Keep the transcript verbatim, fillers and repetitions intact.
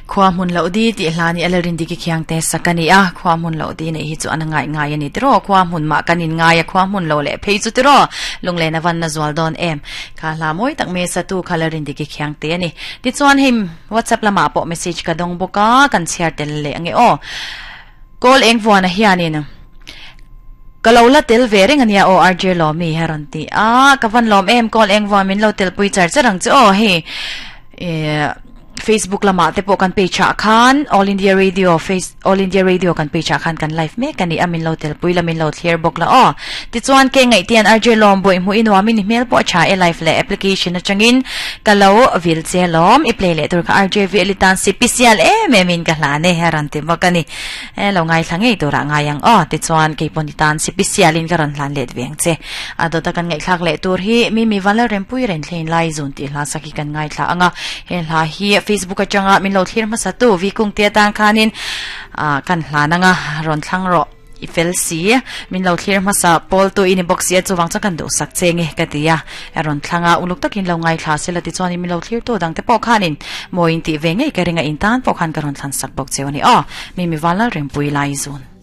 Khua mun lo di ti hlani alarin diki khiang te sakani a khua mun lo di nei hi chu an ngai ngai ani tiro khua mun ma kanin ngai a khua mun lo le phei chu tiro lungle na van na zwal don em kha hla moi tak me sa tu khalarin diki khiang te ani ti chuan him WhatsApp lama po message ka dong boka kan share tel le ange o call eng vuana hianin kalola tel ve reng ania o R J Lomi heron ti a kavan lom em call eng vuan min lo tel pui char charang chu o he e Facebook lama te po kan page a khan All India Radio Face All India Radio kan page a khan kan live me kan ni amin lo tel pui lamin lo clear bok la o ti chuan ke ngai tian R J Lom boi mu inwa min mail po cha e live le application a changin kalo vil che lom i play le tur kha R J V elitan C P C L e me min ka hla ne heran ti makani e lo ngai thlange tur a ngai ang o ti chuan ke pon tan C P C L in karon hlan let veng che ado ta kan ngai thlak le tur hi mi mi wala rem pui ren thlein lai zun ti hla saki kan ngai thla anga he hla hi Facebook atanga min lo thlir ma satu vi kung te tang khanin a kan hlananga ron thlang ro ifel si min lo thlir ma sa pol tu in box ya chuwang cha kan do sak chenge katia ron thlanga uluk takin lo ngai thla sela ti chuan min lo thlir tu dang te po khanin moin ti ve ngei ka ringa in tan po khan ka ron thlan sak bok chewani o mi mi wala rem pui lai zun.